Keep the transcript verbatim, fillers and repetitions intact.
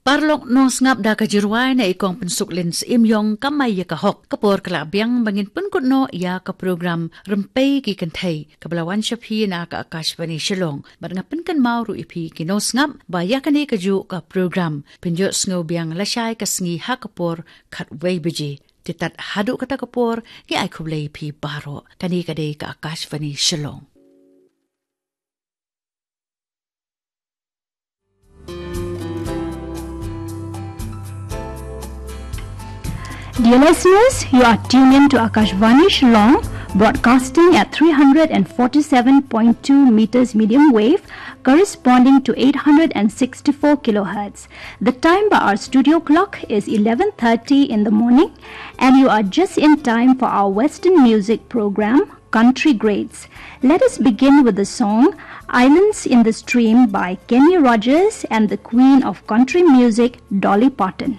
Paralok nongsngap, da ka jingrwai na i Kong Pynsuk Lin Syiemiong, Kamai ïa ka Hok, ka por ka la biang ba ngin pynkut noh ïa ka program Rympei ki Kynthei, kaba la wan sha phi na ka Akashvani Shillong. Bad nga pynkynmaw ruh ïa phi ki nongsngap ba ïa kane kajuh ka program phin ïohsngew biang lashai ka sngi ha ka por khatwei baje. Te tad haduh kata ka por, ngi ai khublei ïa phi baroh. Kane ka dei ka Akashvani Shillong. Dear listeners, you are tuned in to Akashvani Shillong, broadcasting at three hundred and forty-seven point two meters medium wave, corresponding to eight hundred and sixty-four kilohertz. The time by our studio clock is eleven thirty in the morning, and you are just in time for our Western music program, Country Greats. Let us begin with the song Islands in the Stream by Kenny Rogers and the Queen of Country Music, Dolly Parton.